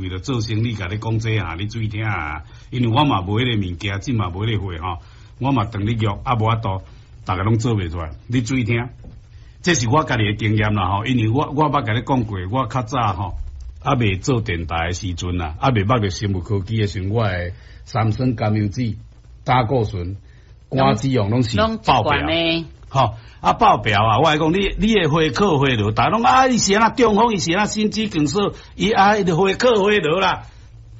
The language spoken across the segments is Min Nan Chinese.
為著做生理，共你講這啊，你注意聽啊。因為我嘛無彼个物件，這嘛無彼個貨吼，我嘛當你約啊，無法度，逐个攏做袂出來。你注意聽，這是我家己的經驗啦吼。因為我捌共你講過，我較早吼，猶未做電台的時陣啊，猶未捌著生物科技的時陣，我的三酸甘油酯、膽固醇、肝脂肪攏是爆表。吼啊爆表啊！我來講，你的血靠血流，逐家攏啊，伊是按怎中風，伊是按怎心肌梗塞，伊啊伊就血靠血流啦。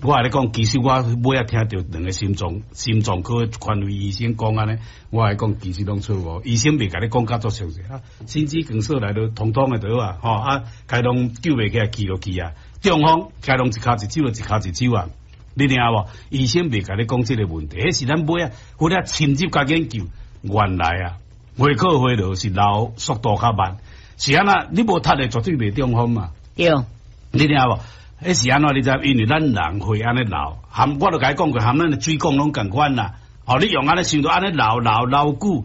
我共你講，其實我尾仔聽著兩个心臟科權威醫生講按呢，我共你講，其實攏錯誤。醫生袂共你講甲足詳細啊，心肌梗塞來都通通的著啊，吼啊，該攏救袂起來，去就去啊。中風該攏一跤一手就一跤一手啊，你聽無？醫生袂共你講這个問題，彼是咱尾仔有咧深入共研究，原來啊。血靠血流是流速度較慢，是按怎？你無踢的絕對袂中風嘛。對，你聽無？彼是按怎？你知？因為咱人血按呢流，含我都共你講過，含咱的水管攏仝款啦。哦，你用按呢想著按呢流流流久，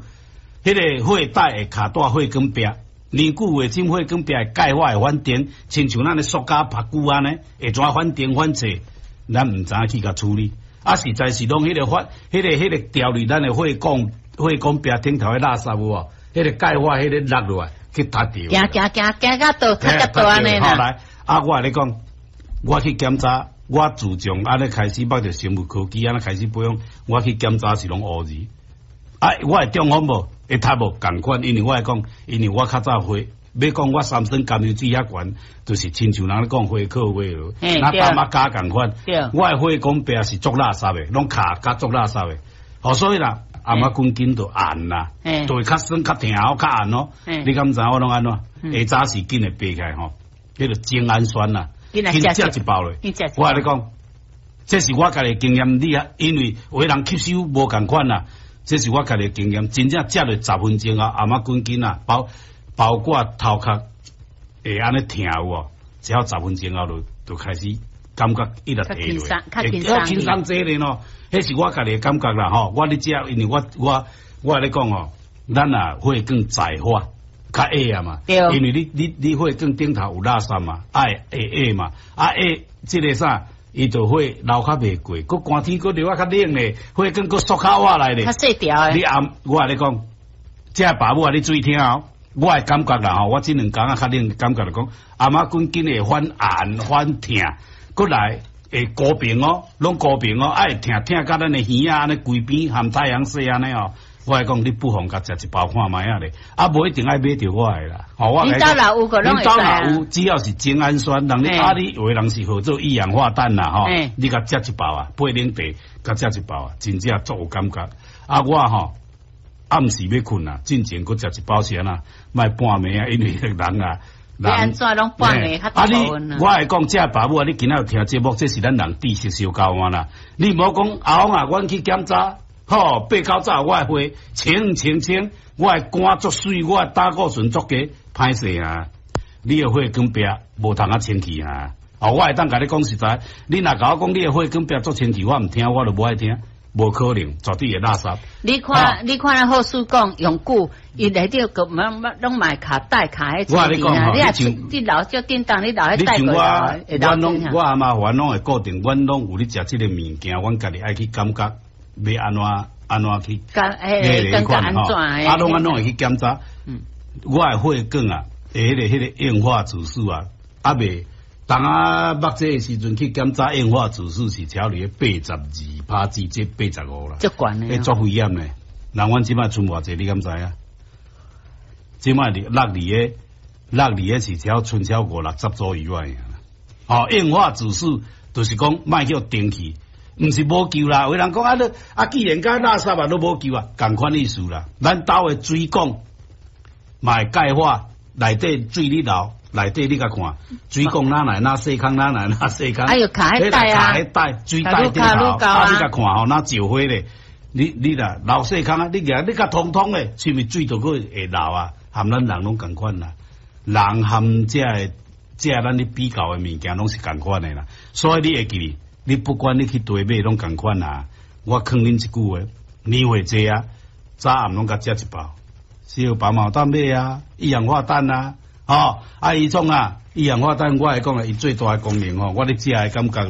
彼个血袋會卡佇血管壁，年久會進血管壁會鈣化會反彈，親像咱的塑膠曝久按呢，會怎反彈反脆？咱毋知影去共處理。啊，實在是攏彼个反，彼个掉入咱的血管。血管壁頂頭的垃圾有無？彼个鈣化，彼个落落來去踢著。行行行行甲倒，較較倒按呢啦。好來，啊，我共你講，我去檢查，我自從按呢開始捌著生物科技，按呢開始保養，我去檢查是攏烏字。啊，我會中風無？會踢無？仝款，因為我會講，因為我較早血，欲講我三酸甘油酯遐懸，就是親像人咧講血靠血流，那膽仔膠仝款。我的血管壁是足垃圾的，攏卡甲足垃圾的。好，所以啦。頷仔骨筋就按啦，就會較酸、較疼、較按哦。你敢知我攏按怎？下早時緊會爬起來吼，彼个精氨酸啦，緊食一包咧。我共你講，這是我家己經驗，你啊，因為有的人吸收無仝款啦，這是我家己經驗，真正食落十分鐘啊，頷仔骨筋啊，包括頭殼會按呢疼有無？只要十分鐘後就開始感覺一直提落，會較輕鬆濟咧喏。彼是我家己的感覺啦吼，我咧食，因為我共你講吼，咱若血管載化較矮啊嘛，因為你血管頂頭有垃圾嘛，愛會矮嘛，啊矮這个啥，伊就血流較袂過，閣寒天閣流啊較冷咧，血管閣縮較倚來咧。較細條的。你暗我共你講，這爸母啊，你注意聽哦，我的感覺啦吼，我這兩工啊較冷，感覺就講，頷仔骨筋會反按反疼，閣來。會高頻哦，攏高頻哦，愛疼疼甲咱的耳仔按呢規邊含太陽穴按呢哦。我來講，你不妨共食一包看覓仔咧，啊，無一定愛買著我的啦。吼，我恁兜若有個攏會使啊。恁兜若有，只要是精氨酸，人你啊，你有的人是號做一氧化氮啦吼，你共食一包啊，配奶茶，共食一包啊，真正足有感覺。啊，我吼暗時欲睏啊，進前閣食一包是按怎？莫半暝啊，因為人啊。欲按怎攏半暝較啊！你我會講，這爸母啊，你今仔有聽節目，這是咱人知識相交換啦。你毋好講阿翁啊，阮去檢查，吼，八九早我的血清清清，我的肝足媠，我的膽固醇足低，歹勢啊！你的血管壁無通啊清氣啊！哦，我會當共你講實在，你若共我講你的血管壁足清氣，我毋聽，我就無愛聽。無可能，絕對會垃圾。你看，你看，咱好事講用久，伊內底閣攏攏嘛卡帶卡彼我共你講吼，你像你留少叮當，你留彼帶過來，我攏我阿媽阮攏會固定，阮攏有咧食這个物件，阮家己愛去感覺欲按怎按怎去，感覺按怎啊，攏按攏會去檢查。我的血管啊，彼个硬化指數啊，猶未。當啊，目這个時陣去檢查硬化指數是超佇82%至這85啦，足懸的，欸，足危險的。人阮這擺賰偌濟，你敢知影？這擺佇落佇个落佇个是超賰超五六十左右啊。哦，硬化指數就是講莫叫定去，毋是無救啦。有人講啊，你啊，既然佮垃圾啊，都無救啊，仝款意思啦。咱兜的水管嘛會鈣化，內底水咧流。內底你共看，水管哪來哪細空，哪來哪細空。哎喲，卡彼帶啊！卡彼帶，水帶頂頭，啊，你共看吼，若石花咧，你若流細空啊，你舉你共通通的，是毋是水就閣會流啊？含咱人攏仝款啦，人含這个這咱咧比較的物件攏是仝款的啦。所以你會記得，你不管你去佗買攏仝款啊。我勸恁一句話，年歲濟啊，早暗攏共食一包，小白毛蛋買啊，一氧化氮啊。吼，啊，伊創啊，一氧化碳，我來講啊，伊最大的功能吼，我咧食的感覺。